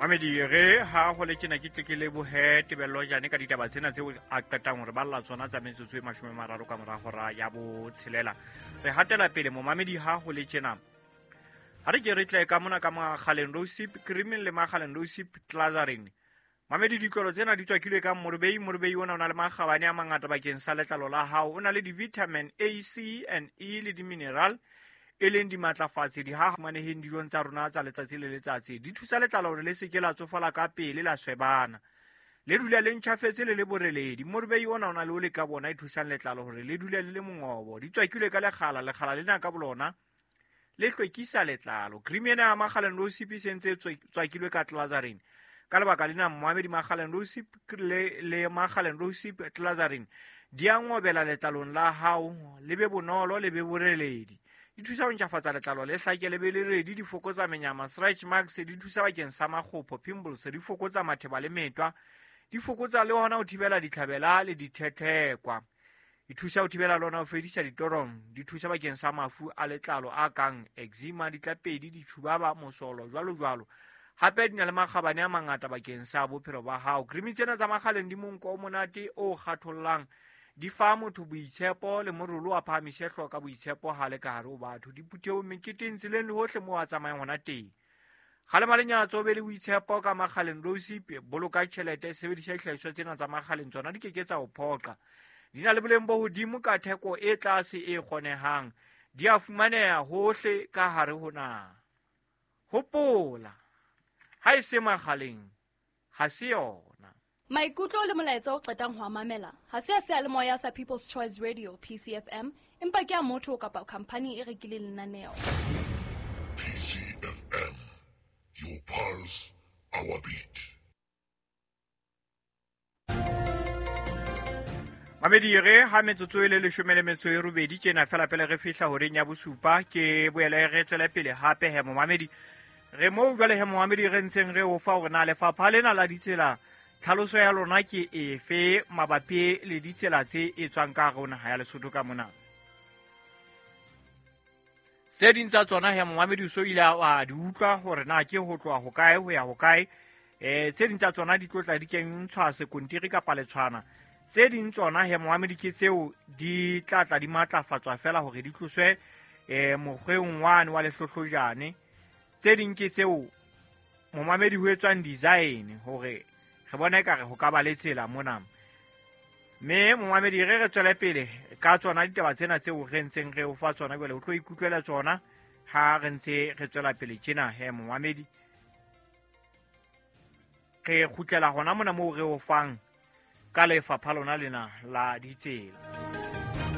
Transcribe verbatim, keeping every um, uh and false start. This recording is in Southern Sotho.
Mamedi re ha ho le tjena ke tle ke lebohe Tebello Jane ka ditaba tsena tseo a qetang hore balla tsona tsa metsotso e mashome a mararo ka mora hora ya botshelela. Re hatela pele momamedi ha ho le tjena. Ha re ke re tle ka mona ka Makgaleng Rosip Cream le Makgaleng Rosip Glazarin. Mamedi ditlolo tsena di tswakilwe ka morobei, morobei ona o na le makgabane a mangata bakeng sa letlalo la hao. O na le di-vitamin A, C and E le di-mineral e leng dimatlafatsi di ha fumaneheng dijong tsa rona tsa letsatsi le letsatsi. Di thusa letlalo hore le se ke la tsofala ka pele la swebana. Le dula le ntjhafetse le le boreledi. Morobei ona o na le o le ka bona e thusang letlalo hore le dule le le mongobo. Di tswakilwe ka lekgala, lekgala lena ka bolona le hlwekisa letlalo. Cream ena ya Makgaleng Rosip e sentse e tswakilwe ka Glazarin. Ka lebaka lena momamedi Makgaleng Rosip le le Makgaleng Rosip Glazarin di a ngobela letlalong la hao, le be bonolo le be boreledi. Di thusa ho ntjhafatsa letlalo le hlake le be le redi, di fokotsa menyama, stretch marks, di thusa bakeng sa makgopho, pimples, di fokotsa matheba le metwa, di fokotsa le hona ho thibela ditlhabela le dithethekwa. Di thusa ho thibela le hona ho fedisa ditorong, di thusa bakeng sa mafu a letlalo a kang eczema, ditlapedi, ditjhubaba, mosolo, jwalo jwalo. Hape di na le makgabane a mangata bakeng sa bophelo ba hao. Cream tsena tsa Makgaleng di monko o monate o kgathollang, di fa motho boitshepo le morolo a phahamise hlooho ka boitshepo ha le ka hare ho batho. Diphuthehong, meketeng, tseleng le hohle moo a tsamayang hona teng. Kgalema lenyatso, be le boitshepo ka Makgaleng Rosip. Boloka tjhelete, sebedisa dihlahiswa tsena tsa Makgaleng, tsona di ke ke tsa o phoqa. Di na le boleng bo hodimo ka theko e tlase e kgonehang. Di a fumaneha hohle ka hare ho naha. Hopola, ha e se Makgaleng, ha se yona. Maikutlo le molaetsa o qetang ho a mamela ha se a seyalemoya sa People's Choice Radio P C F M, empa ke a motho kapa khampani e rekileng lenaneo. P C F M, your pulse, our beat. Mamedi re ha metsotso e le leshome le metso e robedi tjena fela pele re fihla horeng ya bosupa, ke boele re tswele pele hape he momamedi. Re moo jwale he momamedi re ntseng re o fa hore na lefapha lena la ditsela tlhaloso ya lona ke efe mabapi le ditsela tse etswang ka hare ho naha ya Lesotho ka mona. Tse ding tsa tsona he momamedi o so ile a di utlwa hore na ke ho tloha hokae ho ya hokae. Eh tse ding tsa tsona di tlotla di kentshwa sekontiri kapa letshwana. Tse ding tsona he momamedi ke tseo di tla tla di matlafatswa fela hore di tloswe eh mokgweng wane wa lehlohlojane. Tse ding ke tseo momamedi ho etswang design hore re bona ekare ho ka ba le tsela mona. Mme momamedi re re tswele pele ka tsona ditaba tsena tseo re ntseng re o fa tsona jwale, o tlo ikutlwela tsona ha re ntse re tswela pele tjena he momamedi. Re kgutlela hona mona moo re o fang ka lefapha lona lena la ditsela.